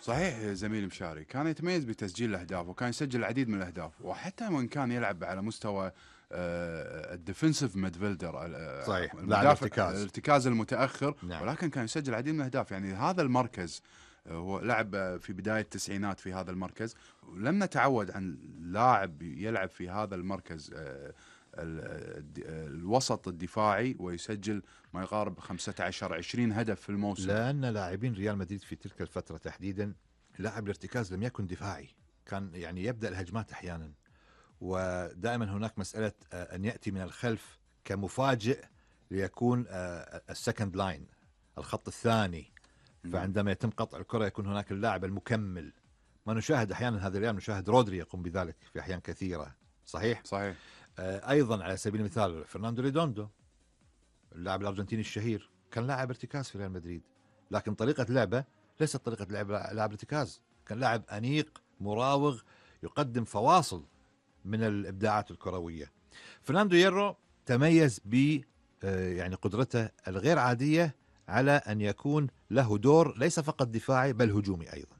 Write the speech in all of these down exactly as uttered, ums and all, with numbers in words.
صحيح زميل مشاري، كان يتميز بتسجيل الأهداف وكان يسجل العديد من الأهداف، وحتى وإن كان يلعب على مستوى الديفنسيف ميدفيلدر، صحيح، المدافع الارتكاز. الارتكاز المتأخر. نعم. ولكن كان يسجل العديد من الأهداف، يعني هذا المركز هو لعب في بداية التسعينات في هذا المركز، ولم نتعود عن لاعب يلعب في هذا المركز الوسط الدفاعي ويسجل ما يقارب خمسة عشر عشرين هدف في الموسم. لأن لاعبين ريال مدريد في تلك الفترة تحديدا لاعب الارتكاز لم يكن دفاعي، كان يعني يبدأ الهجمات أحيانا، ودائما هناك مسألة أن يأتي من الخلف كمفاجئ ليكون السكند لاين، الخط الثاني. فعندما يتم قطع الكرة يكون هناك اللاعب المكمل. ما نشاهد أحيانا هذا اليوم، نشاهد رودري يقوم بذلك في أحيان كثيرة. صحيح؟ صحيح. أيضا على سبيل المثال فرناندو ريدوندو اللاعب الأرجنتيني الشهير كان لاعب ارتكاز في ريال مدريد، لكن طريقة لعبه ليست طريقة لعب لاعب ارتكاز، كان لاعب أنيق مراوغ يقدم فواصل من الإبداعات الكروية. فرناندو هيرو تميز ب يعني قدرته الغير عادية على أن يكون له دور ليس فقط دفاعي بل هجومي أيضا،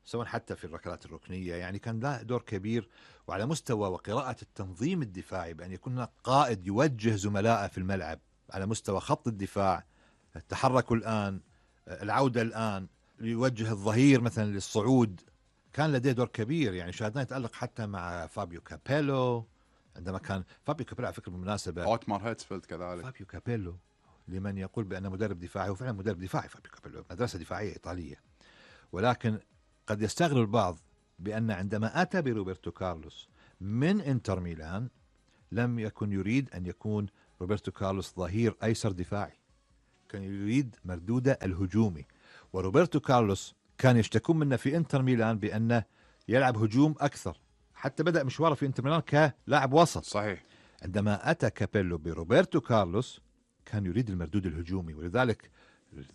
سواء حتى في الركلات الركنية، يعني كان له دور كبير. وعلى مستوى وقراءة التنظيم الدفاعي، بأن يكون هناك قائد يوجه زملائه في الملعب على مستوى خط الدفاع، التحرك الآن، العودة الآن، يوجه الظهير مثلا للصعود، كان لديه دور كبير. يعني شاهدنا يتألق حتى مع فابيو كابيلو، عندما كان فابيو كابيلو على فكرة بالمناسبة أوتمار هيتسفيلد كذلك. فابيو كابيلو لمن يقول بأنه مدرب دفاعي، هو فعلا مدرب دفاعي. فابيو كابيلو مدرسة دفاعية إيطالية، ولكن قد يستغرب البعض بأن عندما أتى بروبرتو كارلوس من انتر ميلان لم يكن يريد أن يكون روبرتو كارلوس ظهير أيسر دفاعي، كان يريد مردوده الهجومي. وروبرتو كارلوس كان يشتكون منه في انتر ميلان بأنه يلعب هجوم أكثر، حتى بدأ مشواره في انتر ميلان كلاعب وسط. صحيح. عندما أتى كابيلو بروبرتو كارلوس كان يريد المردود الهجومي، ولذلك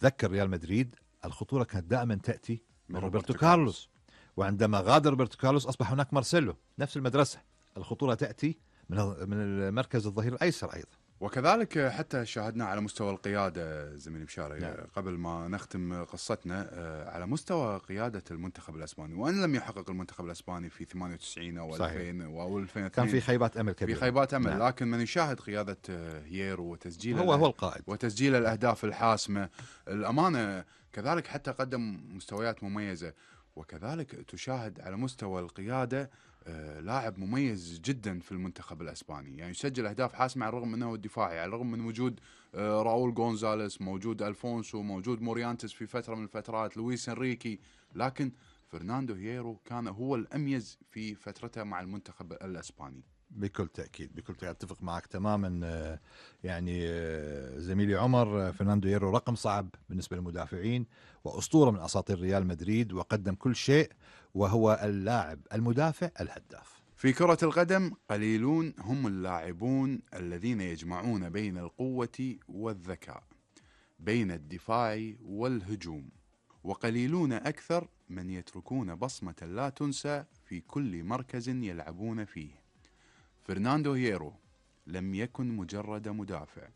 ذكر ريال مدريد الخطورة كانت دائما تأتي من روبرتو كارلوس. وعندما غادر روبرتو كارلوس أصبح هناك مارسيلو، نفس المدرسة، الخطورة تأتي من من المركز الظهير الأيسر أيضا. وكذلك حتى شاهدنا على مستوى القيادة زميلي مشاري. نعم. قبل ما نختم قصتنا، على مستوى قيادة المنتخب الأسباني، وأن لم يحقق المنتخب الأسباني في ثمانية وتسعين أو ألفين أو ألفين واثنين، كان في خيبات أمل كبيرة، في خيبات أمل. نعم. لكن من يشاهد قيادة هيرو وتسجيل هو هو القائد وتسجيل الأهداف الحاسمة، الأمانة كذلك حتى قدم مستويات مميزة. وكذلك تشاهد على مستوى القيادة آه لاعب مميز جدا في المنتخب الأسباني، يعني يسجل أهداف حاسمة على الرغم من أنه دفاعي، على الرغم من وجود آه راؤول غونزاليس، موجود ألفونسو، موجود موريانتس في فترة من الفترات، لويس إنريكي، لكن فرناندو هيرو كان هو الأميز في فترته مع المنتخب الأسباني. بكل تأكيد، بكل تأكيد أتفق معك تماما. يعني زميلي عمر، فرناندو هيرو رقم صعب بالنسبة للمدافعين، وأسطورة من أساطير ريال مدريد، وقدم كل شيء، وهو اللاعب المدافع الهداف. في كرة القدم قليلون هم اللاعبون الذين يجمعون بين القوة والذكاء، بين الدفاع والهجوم، وقليلون أكثر من يتركون بصمة لا تنسى في كل مركز يلعبون فيه. فرناندو هيرو لم يكن مجرد مدافع،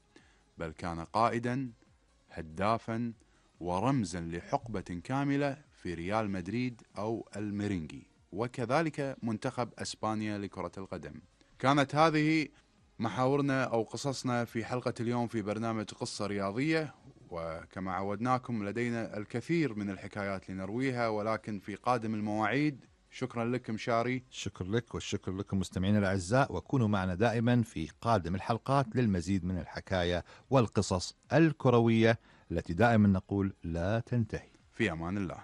بل كان قائدا، هدافا، ورمزا لحقبة كاملة في ريال مدريد أو الميرينجي، وكذلك منتخب أسبانيا لكرة القدم. كانت هذه محاورنا أو قصصنا في حلقة اليوم في برنامج قصة رياضية، وكما عودناكم لدينا الكثير من الحكايات لنرويها، ولكن في قادم المواعيد. شكرا لك مشاري. شكر لك، والشكر لكم مستمعينا الأعزاء، وكونوا معنا دائما في قادم الحلقات للمزيد من الحكاية والقصص الكروية التي دائما نقول لا تنتهي. في أمان الله.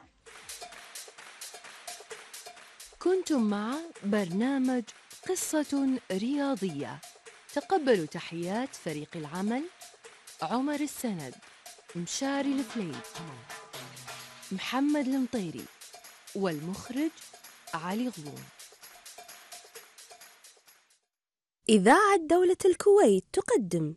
كنتم مع برنامج قصة رياضية. تقبلوا تحيات فريق العمل: عمر السند، مشاري الفليد، محمد المطيري، والمخرج علي غضون. إذاعة دولة الكويت تقدم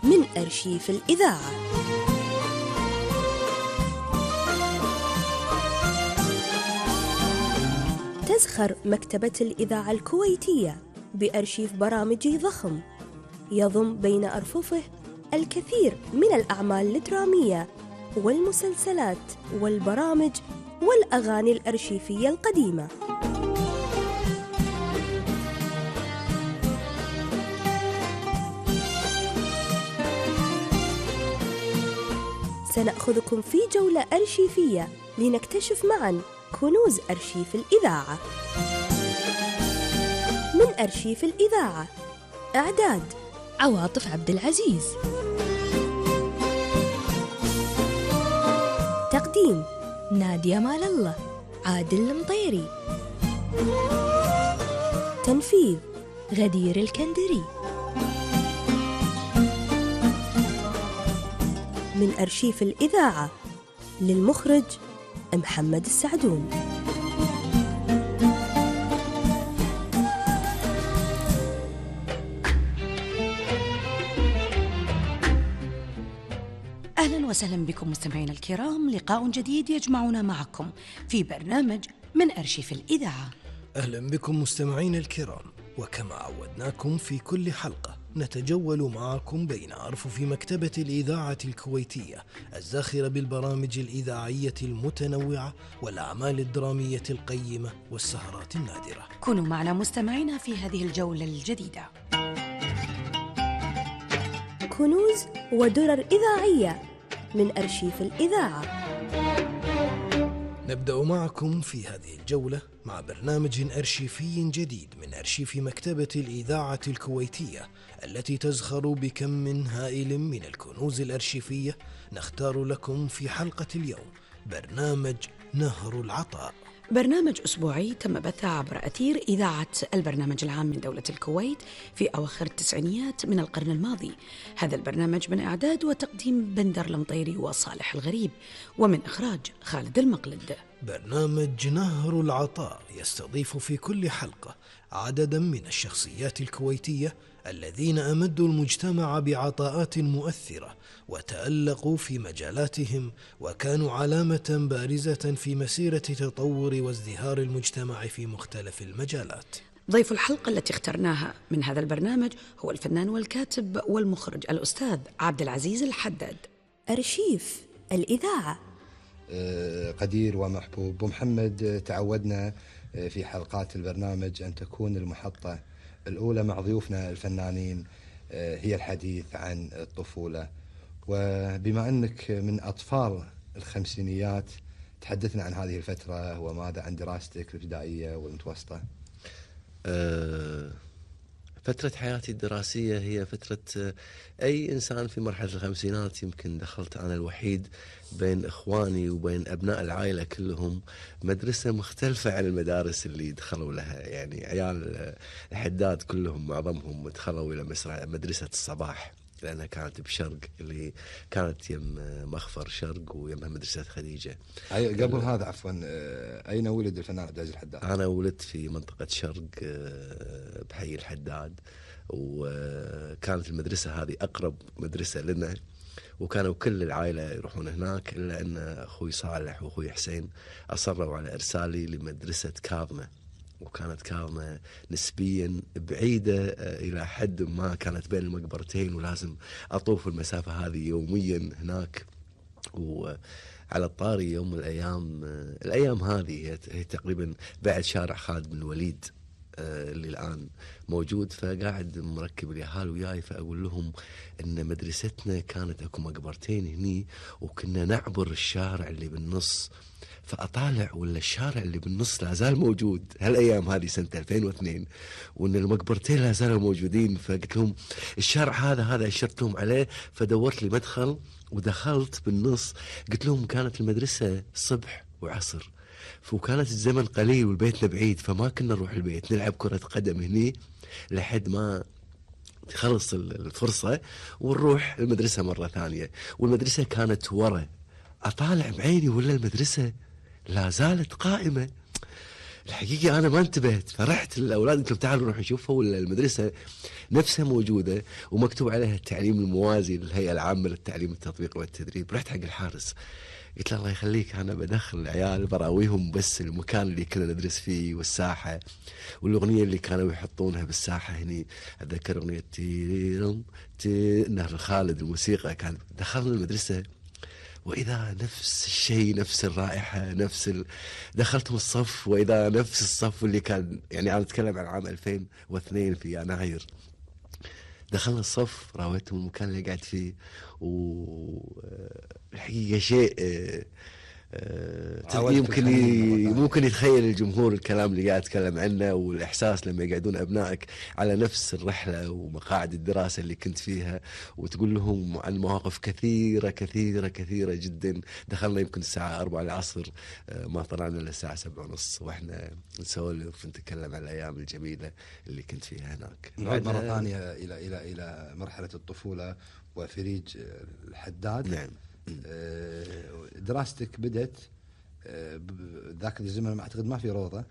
من أرشيف الإذاعة. تزخر مكتبة الإذاعة الكويتية بأرشيف برامج ضخم يضم بين أرففه الكثير من الأعمال الدرامية والمسلسلات والبرامج والأغاني الأرشيفية القديمة. سنأخذكم في جولة أرشيفية لنكتشف معاً كنوز أرشيف الإذاعة. من أرشيف الإذاعة، إعداد عواطف عبد العزيز، تقديم نادية مال الله، عادل المطيري، تنفيذ غدير الكندري. من أرشيف الإذاعة، للمخرج محمد السعدون. أهلا وسهلا بكم مستمعينا الكرام، لقاء جديد يجمعنا معكم في برنامج من أرشيف الإذاعة. أهلا بكم مستمعينا الكرام، وكما عودناكم في كل حلقة نتجول معكم بين أرفف مكتبة الإذاعة الكويتية الزاخرة بالبرامج الإذاعية المتنوعة والأعمال الدرامية القيمة والسهرات النادرة. كونوا معنا مستمعينا في هذه الجولة الجديدة. كنوز ودرر إذاعية من أرشيف الإذاعة. نبدأ معكم في هذه الجولة مع برنامج أرشيفي جديد من أرشيف مكتبة الإذاعة الكويتية التي تزخر بكم هائل من الكنوز الأرشيفية. نختار لكم في حلقة اليوم برنامج نهر العطاء، برنامج أسبوعي تم بثه عبر أثير إذاعة البرنامج العام من دولة الكويت في أواخر التسعينيات من القرن الماضي. هذا البرنامج من إعداد وتقديم بندر المطيري وصالح الغريب، ومن إخراج خالد المقلد. برنامج نهر العطاء يستضيف في كل حلقة عددا من الشخصيات الكويتية الذين أمدوا المجتمع بعطاءات مؤثرة وتألقوا في مجالاتهم وكانوا علامة بارزة في مسيرة تطور وازدهار المجتمع في مختلف المجالات. ضيف الحلقة التي اخترناها من هذا البرنامج هو الفنان والكاتب والمخرج الأستاذ عبد العزيز الحداد. أرشيف الإذاعة. قدير ومحبوب ومحمد، تعودنا في حلقات البرنامج أن تكون المحطة الأولى مع ضيوفنا الفنانين هي الحديث عن الطفولة، وبما أنك من أطفال الخمسينيات تحدثنا عن هذه الفترة وماذا عن دراستك الابتدائية والمتوسطة. أه فترة حياتي الدراسية هي فترة أي إنسان في مرحلة الخمسينات. يمكن دخلت أنا الوحيد بين إخواني وبين أبناء العائلة كلهم مدرسة مختلفة عن المدارس اللي دخلوا لها. يعني عيال الحداد كلهم معظمهم دخلوا إلى مدرسة الصباح لأنها كانت بشرق، اللي كانت يم مخفر شرق ويمها مدرسة خديجة. أي قبل هذا عفوا، أين ولد الفنان عبد العزيز الحداد؟ أنا ولدت في منطقة شرق بحي الحداد، وكانت المدرسة هذه أقرب مدرسة لنا، وكانوا كل العائلة يروحون هناك إلا أن أخوي صالح وأخوي حسين أصروا على إرسالي لمدرسة كاظمة، وكانت كاظمة نسبيا بعيدة إلى حد ما، كانت بين المقبرتين ولازم أطوف المسافة هذه يوميا هناك. وعلى الطاري يوم من الأيام الأيام هذه هي تقريبا بعد شارع خالد بن الوليد اللي الآن موجود، فقاعد مركب اليهال وياي، فأقول لهم إن مدرستنا كانت أكو مقبرتين هني وكنا نعبر الشارع اللي بالنص، فأطالع ولا الشارع اللي بالنص لا زال موجود هالأيام هذه سنة ألفين واثنين، وإن المقبرتين لا زالوا موجودين. فقلت لهم الشارع هذا هذا أشرت لهم عليه، فدورت لي مدخل ودخلت بالنص. قلت لهم كانت المدرسة صبح وعصر، وكانت الزمن قليل والبيتنا بعيد، فما كنا نروح البيت نلعب كرة قدم هني لحد ما تخلص الفرصة ونروح المدرسة مرة ثانية. والمدرسة كانت ورا، أطالع بعيني ولا المدرسة لا زالت قائمة. الحقيقة أنا ما انتبهت، فرحت الأولاد قلت لهم تعالوا نروح نشوفها، والمدرسة نفسها موجودة ومكتوب عليها التعليم الموازي للهيئة العامة للتعليم التطبيقي والتدريب. رحت حق الحارس قلت له الله يخليك أنا بدخل العيال براويهم بس المكان اللي كنا ندرس فيه والساحة والأغنية اللي كانوا يحطونها بالساحة هني. أتذكر أغنية تيرم تي نهر خالد الموسيقى، كان دخلنا المدرسة وإذا نفس الشيء، نفس الرائحة، نفس ال... دخلتهم الصف وإذا نفس الصف اللي كان، يعني أنا أتكلم عن عام ألفين واثنين في يناير. دخلنا الصف راويتهم المكان اللي قاعد فيه، والحقيقة شيء أه يمكن ممكن يتخيل الجمهور الكلام اللي قاعد أتكلم عنه، والإحساس لما يقعدون أبنائك على نفس الرحلة ومقاعد الدراسة اللي كنت فيها، وتقول لهم عن مواقف كثيرة كثيرة كثيرة جدا. دخلنا يمكن الساعة أربعة العصر، ما طلعنا إلا الساعة سبعة ونص وإحنا نسولف ونتكلم عن الأيام الجميلة اللي كنت فيها هناك. نعود مرة ثانية إلى إلى إلى مرحلة الطفولة وفريج الحداد. نعم. دراستك بدت ذاك الزمن ما أعتقد ما في روضة.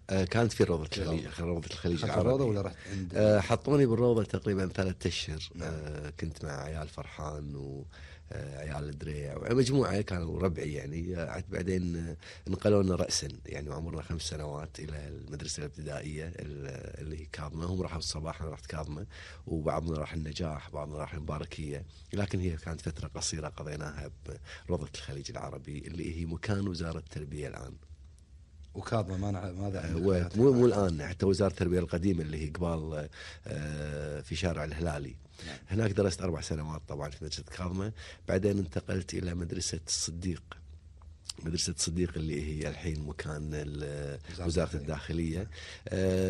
كانت في روضة الخليج، روضة الخليج العربي. الروضة ولا رحت عند؟ أه حطوني بالروضة تقريبا ثلاثة أشهر. أه كنت مع عيال فرحان وعيال الدريع ومجموعة كانوا ربعي يعني. بعدين نقلونا رأسا يعني وعمرنا خمس سنوات إلى المدرسة الابتدائية اللي هي كاظمة. هم راحوا الصباح، أنا رحت كاظمة، وبعضنا راح النجاح، بعضنا راح المباركية، لكن هي كانت فترة قصيرة قضيناها بروضة الخليج العربي اللي هي مكان وزارة التربية الآن. وكاظمة ما ماذا؟ مو مو الآن، حتى وزارة التربية القديمة اللي هي قبال في شارع الهلالي. نعم. هناك درست أربع سنوات طبعا في مدرسة كاظمة. بعدين انتقلت إلى مدرسة الصديق، مدرسة الصديق اللي هي الحين مكان وزارة الداخلية.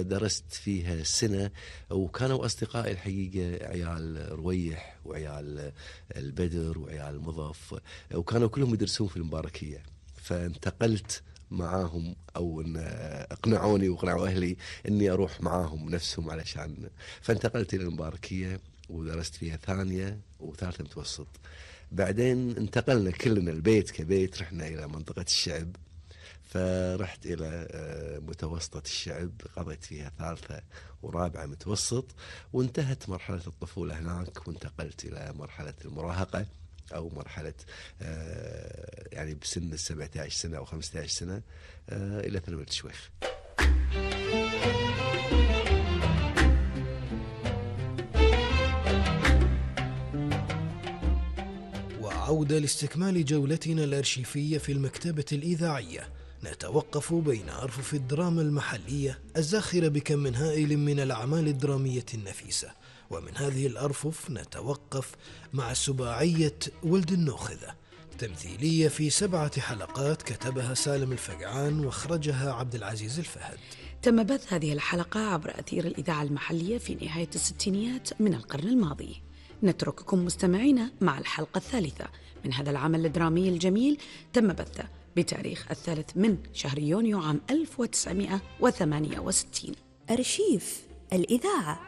درست فيها سنة، وكانوا أصدقائي الحقيقة عيال رويح وعيال البدر وعيال المضف، وكانوا كلهم يدرسون في المباركية. فانتقلت معاهم، او ان اقنعوني واقنعوا اهلي اني اروح معاهم نفسهم علشان، فانتقلت الى المباركيه ودرست فيها ثانيه وثالثه متوسط. بعدين انتقلنا كلنا البيت كبيت، رحنا الى منطقه الشعب، فرحت الى متوسطه الشعب قضيت فيها ثالثه ورابعه متوسط، وانتهت مرحله الطفوله هناك، وانتقلت الى مرحله المراهقه أو مرحلة آه يعني بسن السبعة عشر سنة أو خمسة عشر سنة آه إلى ثانوية الشويخ. وعودة لاستكمال جولتنا الأرشيفية في المكتبة الإذاعية. نتوقف بين أرفف الدراما المحلية الزاخرة بكم من هائل من الأعمال الدرامية النفيسة، ومن هذه الأرفف نتوقف مع سباعية ولد النوخذة، تمثيلية في سبعة حلقات كتبها سالم الفقعان واخرجها عبد العزيز الفهد. تم بث هذه الحلقة عبر أثير الإذاعة المحلية في نهاية الستينيات من القرن الماضي. نترككم مستمعين مع الحلقة الثالثة من هذا العمل الدرامي الجميل، تم بثه بتاريخ الثالث من شهر يونيو عام ألف وتسعمائة وثمانية وستين. أرشيف الإذاعة.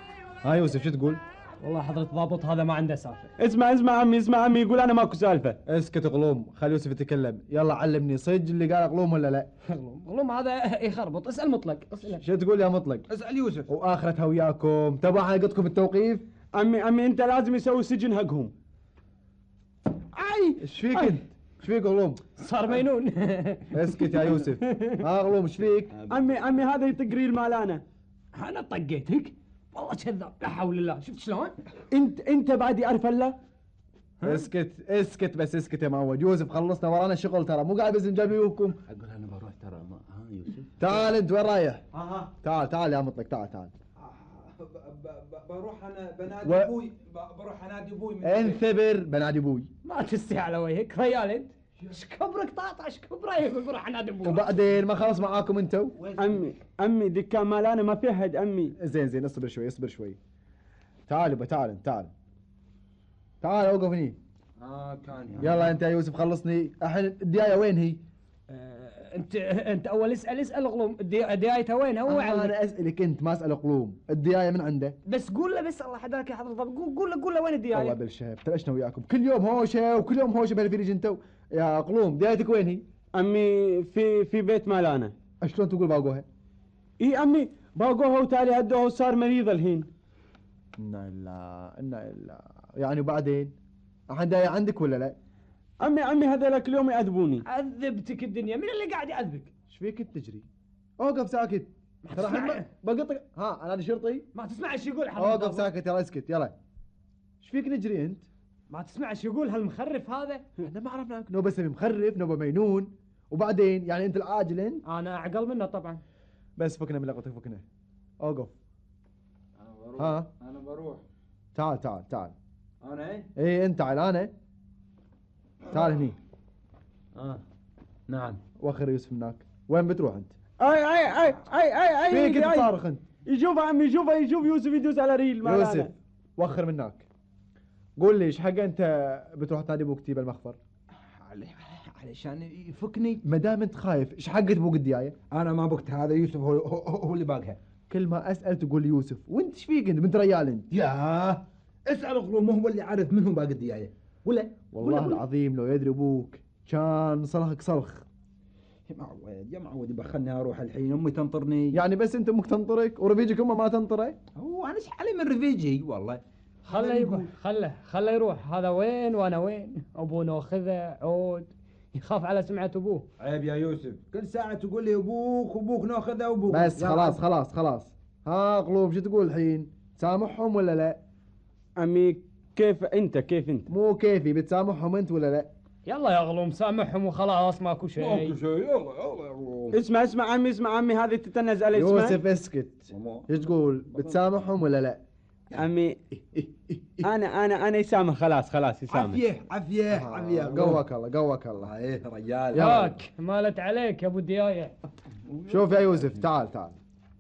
ها يوسف شو تقول؟ والله حضرة ضابط هذا ما عنده سالفة. اسمع اسمع عمي اسمع عمي يقول أنا ماكو سالفة. اسكت غلوم، خلي يوسف يتكلم. يلا علمني صج اللي قال غلوم ولا لا؟ غلوم غلوم هذا يخربط. اسأل مطلق. اسأل. شو تقول يا مطلق؟ اسأل يوسف. وآخرتها وياكم تبع حلقتكم التوقيف. عمي عمي أنت لازم يسوي سجن حقهم. أي إيش فيك أنت؟ إيش فيك غلوم؟ صار مينون. اسكت يا يوسف. ها غلوم إيش فيك؟ عمي عمي هذا يطق ريل مالانا. أنا طقيتك؟ والله كذاب، لا حول الله. شفت شلون؟ انت انت بعد يعرف الله؟ اسكت اسكت بس اسكت يا معود. يوسف خلصنا ورانا شغل ترى، مو قاعد بس نجابيكم. اقول انا بروح ترى. ما ها يوسف تعال انت وين رايح؟ ها ها تعال تعال يا مطلق تعال تعال. بروح انا بنادي ابوي. بروح انادي ابوي. انثبر بنادي ابوي. ما تستحي على وجهك ريال انت. ايش كبرك طاطا؟ ايش كبره يقول بروح انادي ابوي. وبعدين ما خلص معاكم انتو؟ امي امي دكان مالانا ما في حد امي. زين زين اصبر شوي اصبر شوي. تعال يبا تعال تعال تعال اوقف هني. اه كان يلا انت يا يوسف خلصني. الحين الديايه وين هي؟ آه انت انت اول اسال اسال غلوم. ديايتها وين؟ هو آه انا اسالك انت ما اسال غلوم. الديايه من عنده؟ بس قول له بس الله حداك يا حضرة الضابط. قول له قول له وين الديايه؟ والله بالشهب تلاشنا وياكم كل يوم هوشه وكل يوم هوشه بهالفريج انتو. يا قلوم ديايتك وين هي؟ امي في في بيت مالانا. شلون تقول باقوها؟ اي امي باقوها وتالي هدوها وصار مريض الحين. انا الا انا الا يعني وبعدين الحين داي عندك ولا لا؟ امي امي هذولك اليوم يعذبوني. عذبتك الدنيا، مين اللي قاعد يعذبك؟ ايش فيك تجري؟ اوقف ساكت. ترى الحين بقطك. ها انا شرطي؟ ما تسمع ايش يقول حضرتك. اوقف ساكت يلا اسكت يلا. ايش فيك نجري انت؟ ما تسمع ايش يقول هالمخرف هذا؟ احنا ما عرفناك. نوبه سمي مخرف، نوبه مجنون، وبعدين يعني انت العاجل انت؟ انا اعقل منه طبعا. بس فكنا من لقطك فكنا. اوقف. انا بروح. ها انا بروح. تعال تعال تعال. انا ايه؟ ايه انت تعال انا. تعال هني. اه نعم. وخر يوسف هناك. وين بتروح انت؟ اي اي اي اي اي اي فيك انت صارخ انت؟ يشوف عمي يشوف يشوف يوسف يدوس على ريل. يوسف وخر منك. قول لي ايش حق انت بتروح تنادي ابوك تجيب المخفر؟ علشان يفكني. ما دام انت خايف ايش حق ابوك الديايه؟ انا ما بقت هذا يوسف هو, هو, هو اللي باقها. كل ما اسال تقول يوسف وانت ايش فيك انت بنت ريال انت؟ يا اسال غلوم هو اللي عارف من هو باقي الديايه ولا؟ والله ولا العظيم لو يدري ابوك كان صلخك صلخ. يا معود يا معود يبخلني اروح الحين، امي تنطرني. يعني بس انت امك تنطرك ورفيجك امه ما تنطره؟ هو انا ايش علي من رفيجي والله. خله يقول خله خله يروح. هذا وين وانا وين؟ ابونا واخذه عود يخاف على سمعة ابوه. عيب يا يوسف، كل ساعة تقول لي ابوك وابوك ناخذه وابوك. بس خلاص خلاص خلاص. ها غلوب شو تقول الحين؟ تسامحهم ولا لا؟ امي كيف انت كيف انت؟ مو كيفي، بتسامحهم انت ولا لا؟ يلا يا غلوم سامحهم وخلاص ماكو شيء. ماكو شيء يلا يلا يا غلوم. اسمع اسمع عمي اسمع عمي هذه تتنز علي. يوسف اسكت. ايش تقول؟ بتسامحهم ولا لا؟ عمي انا انا انا يسامح خلاص خلاص يسامح. عافيه عافيه عافيه. قوك الله قوك الله. ايه رجال. ياك مالت عليك يا ابو الديايه. شوف يا يوسف تعال تعال.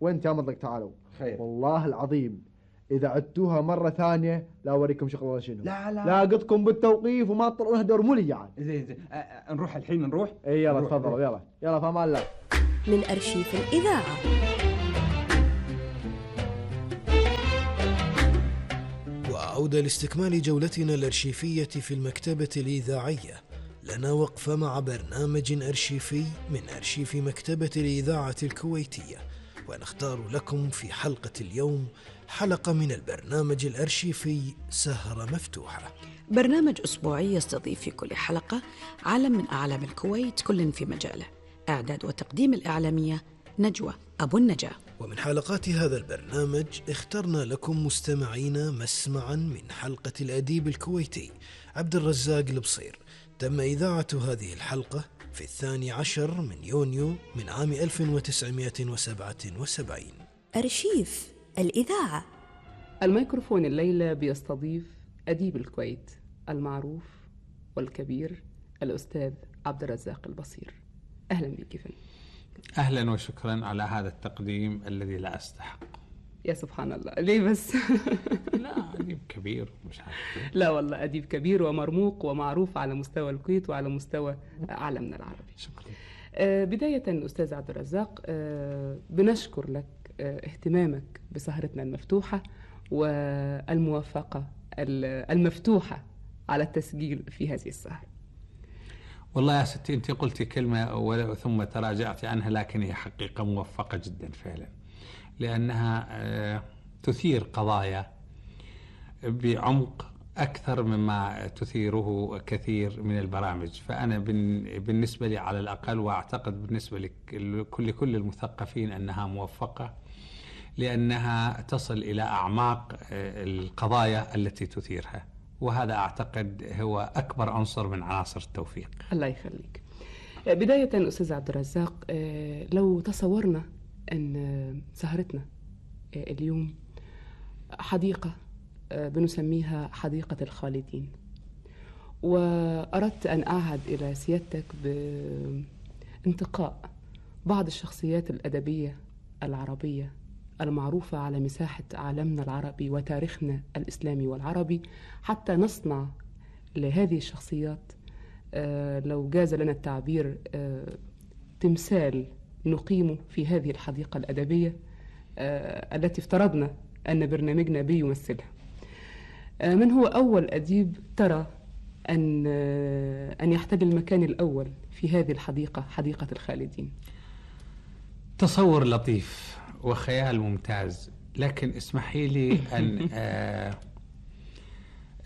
وانت يا مطلق تعالوا. خير. والله العظيم اذا عدتوها مره ثانيه لا اوريكم شغل ولا شنو. لا لا لاقطكم بالتوقيف وما تطلعون دور مولي يعني. زين زين نروح الحين نروح. اي يلا تفضلوا يلا يلا في امان الله. من أرشيف الإذاعة. وعودة لاستكمال جولتنا الأرشيفية في المكتبة الإذاعية. لنا وقفة مع برنامج أرشيفي من أرشيف مكتبة الإذاعة الكويتية، ونختار لكم في حلقة اليوم حلقة من البرنامج الأرشيفي سهرة مفتوحة. برنامج أسبوعي يستضيف في كل حلقة عالم من أعلام الكويت كل في مجاله. إعداد وتقديم الإعلامية نجوى أبو النجاة. ومن حلقات هذا البرنامج اخترنا لكم مستمعينا مسمعا من حلقة الأديب الكويتي عبد الرزاق البصير. تم إذاعة هذه الحلقة في الثاني عشر من يونيو من عام ألف وتسعمائة وسبعة وسبعين. أرشيف الإذاعة. الميكروفون الليلة بيستضيف أديب الكويت المعروف والكبير الأستاذ عبد الرزاق البصير. أهلا بك فندم. أهلا وشكرا على هذا التقديم الذي لا أستحق. يا سبحان الله ليه بس؟ لا أديب كبير مش عارف. لا والله أديب كبير ومرموق ومعروف على مستوى الكويت وعلى مستوى عالمنا العربي. شكرا. آه بداية أستاذ عبد الرزاق آه بنشكر لك آه اهتمامك بسهرتنا المفتوحة والموافقة المفتوحة على التسجيل في هذه السهرة. والله يا ستي أنت قلتي كلمة ثم تراجعت عنها، لكن هي حقيقة موفقة جدا فعلا، لأنها تثير قضايا بعمق أكثر مما تثيره كثير من البرامج. فأنا بالنسبة لي على الأقل، وأعتقد بالنسبة لكل كل المثقفين، أنها موفقة لأنها تصل إلى أعماق القضايا التي تثيرها، وهذا أعتقد هو أكبر عنصر من عناصر التوفيق. الله يخليك. بداية أستاذ عبد الرزاق، لو تصورنا أن سهرتنا اليوم حديقة بنسميها حديقة الخالدين، وأردت أن أعهد إلى سيادتك بانتقاء بعض الشخصيات الأدبية العربية المعروفة على مساحة عالمنا العربي وتاريخنا الإسلامي والعربي، حتى نصنع لهذه الشخصيات لو جاز لنا التعبير تمثال نقيمه في هذه الحديقة الأدبية التي افترضنا أن برنامجنا بيمثلها. من هو أول أديب ترى أن أن يحتل المكان الأول في هذه الحديقة، حديقة الخالدين؟ تصور لطيف وخيال ممتاز، لكن اسمحي لي أن آه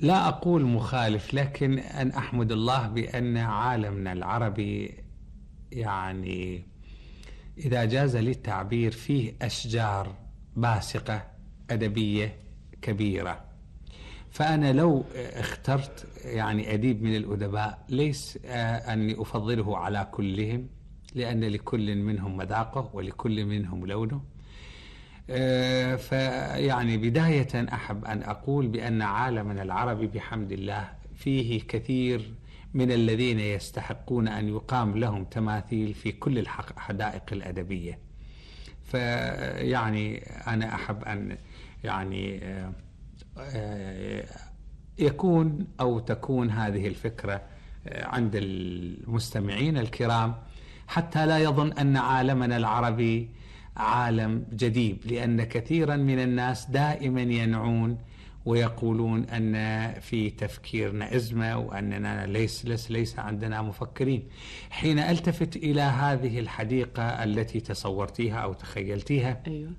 لا أقول مخالف، لكن أن أحمد الله بأن عالمنا العربي يعني إذا جاز لي التعبير فيه أشجار باسقة أدبية كبيرة. فأنا لو اخترت يعني أديب من الأدباء ليس أني أفضله على كلهم، لأن لكل منهم مذاقه ولكل منهم لونه. فيعني بداية أحب أن أقول بأن عالمنا العربي بحمد الله فيه كثير من الذين يستحقون أن يقام لهم تماثيل في كل الحدائق الأدبية. فيعني أنا أحب أن يعني يكون أو تكون هذه الفكرة عند المستمعين الكرام، حتى لا يظن أن عالمنا العربي عالم جديد، لأن كثيرا من الناس دائما ينعون ويقولون أن في تفكيرنا أزمة وأننا ليس, ليس, ليس عندنا مفكرين. حين ألتفت إلى هذه الحديقة التي تصورتيها أو تخيلتيها أيوة.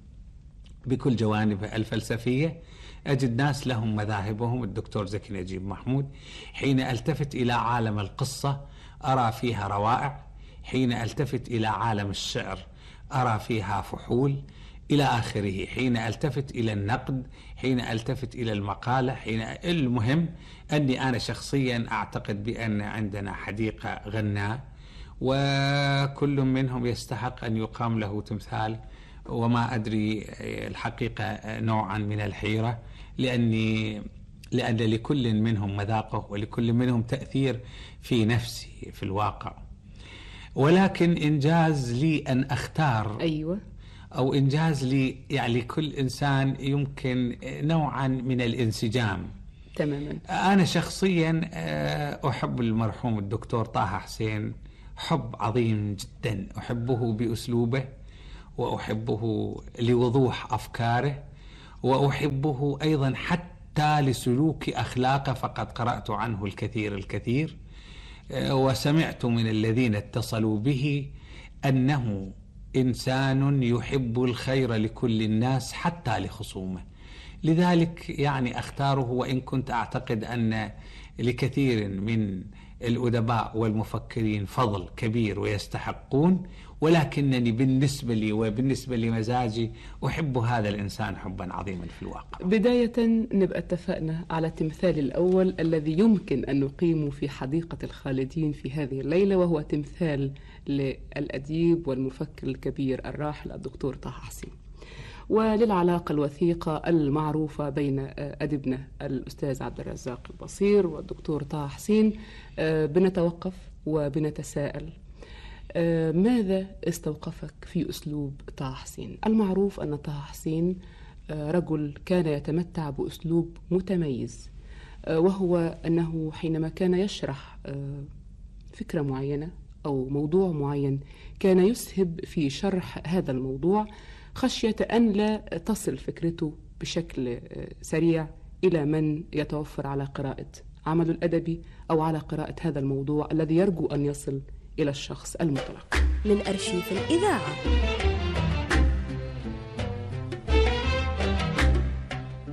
بكل جوانبها الفلسفية، أجد ناس لهم مذاهبهم، الدكتور زكي نجيب محمود. حين ألتفت إلى عالم القصة أرى فيها روائع، حين ألتفت إلى عالم الشعر أرى فيها فحول إلى آخره، حين ألتفت إلى النقد، حين ألتفت إلى المقالة، حين المهم أني أنا شخصيا أعتقد بأن عندنا حديقة غناء، وكل منهم يستحق أن يقام له تمثال. وما أدري الحقيقة نوعا من الحيرة، لأني لأن لكل منهم مذاقه ولكل منهم تأثير في نفسي في الواقع. ولكن إنجاز لي أن أختار أيوة أو إنجاز لي يعني كل إنسان يمكن نوعا من الانسجام تماما. أنا شخصيا أحب المرحوم الدكتور طه حسين حب عظيم جدا، أحبه بأسلوبه، وأحبه لوضوح أفكاره، وأحبه أيضا حتى لسلوك أخلاقه، فقد قرأت عنه الكثير الكثير، وسمعت من الذين اتصلوا به أنه إنسان يحب الخير لكل الناس حتى لخصومه. لذلك يعني أختاره، وإن كنت أعتقد أن لكثير من الأدباء والمفكرين فضل كبير ويستحقون، ولكنني بالنسبة لي وبالنسبة لمزاجي أحب هذا الإنسان حبا عظيما في الواقع. بداية نبقى اتفقنا على التمثال الأول الذي يمكن أن نقيمه في حديقة الخالدين في هذه الليلة، وهو تمثال للأديب والمفكر الكبير الراحل الدكتور طه حسين، وللعلاقة الوثيقة المعروفة بين أديبنا الأستاذ عبد الرزاق البصير والدكتور طه حسين. بنتوقف وبنتساءل ماذا استوقفك في أسلوب طه حسين؟ المعروف أن طه حسين رجل كان يتمتع بأسلوب متميز، وهو أنه حينما كان يشرح فكرة معينة أو موضوع معين كان يسهب في شرح هذا الموضوع خشية أن لا تصل فكرته بشكل سريع إلى من يتوفر على قراءة عمله الأدبي أو على قراءة هذا الموضوع الذي يرجو أن يصل إلى الشخص المطلق. من أرشيف الإذاعة.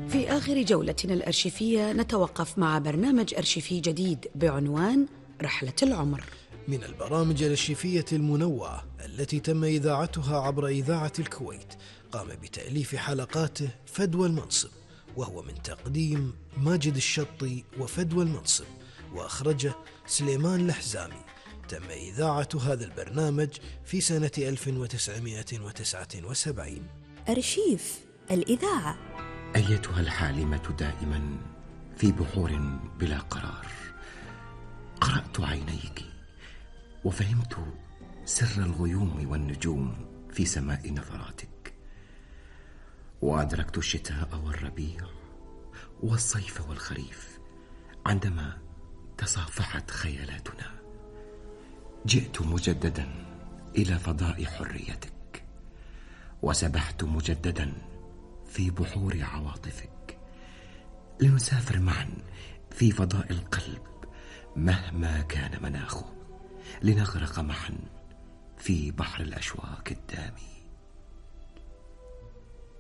في آخر جولتنا الأرشيفية نتوقف مع برنامج أرشيفي جديد بعنوان رحلة العمر، من البرامج الأرشيفية المنوعة التي تم إذاعتها عبر إذاعة الكويت. قام بتأليف حلقاته فدوى المنصب، وهو من تقديم ماجد الشطي وفدوى المنصب، وأخرجه سليمان الحزامي. تم إذاعة هذا البرنامج في سنة ألف وتسعمائة وتسعة وسبعين. أرشيف الإذاعة. أيتها الحالمة دائما في بحور بلا قرار، قرأت عينيك وفهمت سر الغيوم والنجوم في سماء نظراتك، وأدركت الشتاء والربيع والصيف والخريف عندما تصافحت خيالاتنا. جئت مجددا إلى فضاء حريتك، وسبحت مجددا في بحور عواطفك، لنسافر معا في فضاء القلب مهما كان مناخه، لنغرق معا في بحر الأشواق الدامي.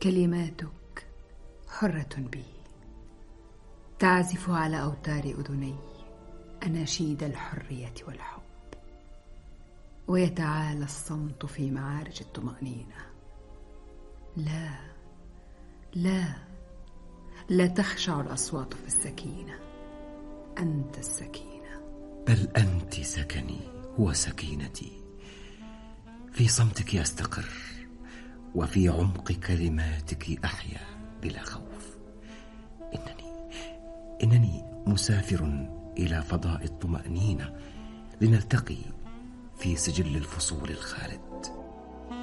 كلماتك حرة بي، تعزف على أوتار أذني أناشيد الحرية والحب، ويتعالى الصمت في معارج الطمأنينة. لا لا لا تخشع الأصوات في السكينة، أنت السكينة. بل أنت سكني وسكينتي، في صمتك أستقر، وفي عمق كلماتك أحيا بلا خوف. إنني إنني مسافر إلى فضاء الطمأنينة، لنلتقي في سجل الفصول الخالد.